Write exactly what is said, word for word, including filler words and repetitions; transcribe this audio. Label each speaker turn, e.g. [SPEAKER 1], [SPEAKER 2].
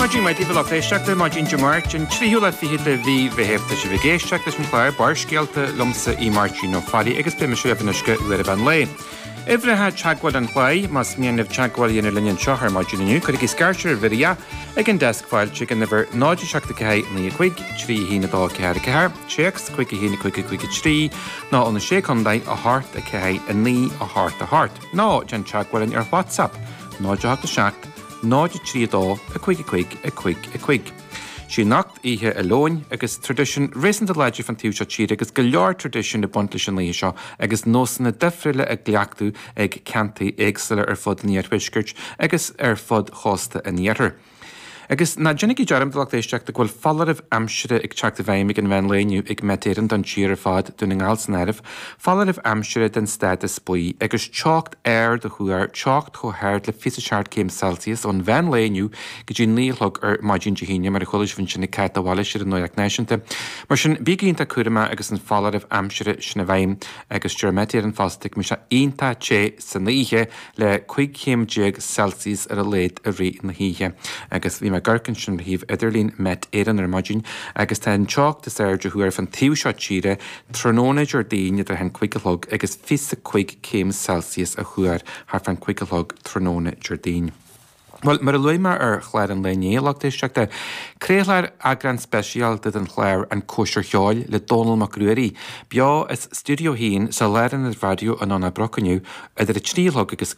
[SPEAKER 1] Maidin mhaith daoibh a lucht éisteachta, maidin Dé Máirt, an tríú lá fichead de mhí Mheithimh. Tá sibh ag éisteacht leis an chlár Barrscéalta liomsa í Máirtín Ó Fearraigh agus beidh mise libh anois go uair an mheán lae. Uimhreacha teagmhála an chláir, más mian libh teagmháil a dhéanamh linn anseo ar maidin inniu, cuirigí scairtear ar Mhiria ag an deasc fáilte ag an uimhir náid seacht a ceathair naoi a cúig, trí a haon a dó ceathair a ceathair, téacs cúig a haon a cúig a cúig a trí, nó ó na Sé Chontae a hocht a ceathair a naoi a hocht a hocht. Nó déan teagmháil linn ar WhatsApp náid a hocht a seacht, náid a trí a dó a cúig a cúig a cúig a cúig. Sí anocht Oíche an Leoin agus traidisiún réasúnta láidir fan taobh seo tíre agus go leor traidisiún ag baint leis an oíche seo agus nósanna difriúla á gcleachtadh ag ceantair éagsúla ar fud an iarthuaiscirt agus ar fud chósta an iarthair. Agus ná déanaigí dearmad a lucht éisteachta go bhfuil foláireamh aimsire ag teacht i bhfeidhm ag an mheán lae inniu ag Met Éireann don tír ar fad, Dún na nGall san áireamh, foláireamh aimsire den stádas buí agus teocht ard á thuar, teocht chomh hard le fiche seacht céim Celsius ón mheán lae inniu go dtí naoi a chlog ar maidin Dé hAoine, mar a chuala sibh ansin ag Cáit de Bhailís ar an Nuacht Náisiúnta. Mar sin, bígí iontach cúramach agus an foláireamh aimsire sin i bhfeidhm agus deir Met Éireann fosta go mbeidh sé iontach te san oíche le cúig chéim déag Celsius ar a laghad i rith na hoíche. Agus bhí mé ag amharc ansin ar shuíomh idirlín Met Éireann ar maidin agus tá an teocht is airde á thuar fan taobh seo tíre tráthnóna Déardaoin idir a haon cúig a chlog agus fiche cúig céim Celsius á thuar thart fán cúig a chlog tráthnóna Déardaoin. Bhuel, mar a luaigh mé ar chlár an lae inné, a lucht éisteachta, craolfar eagrán speisialta den chlár An Cóisir Cheoil le Dónall Mac Ruairí, beo as Stiúideo a haon sa Lárionad Raidió i nDomhnach Broc inniu idir a trí a chlog agus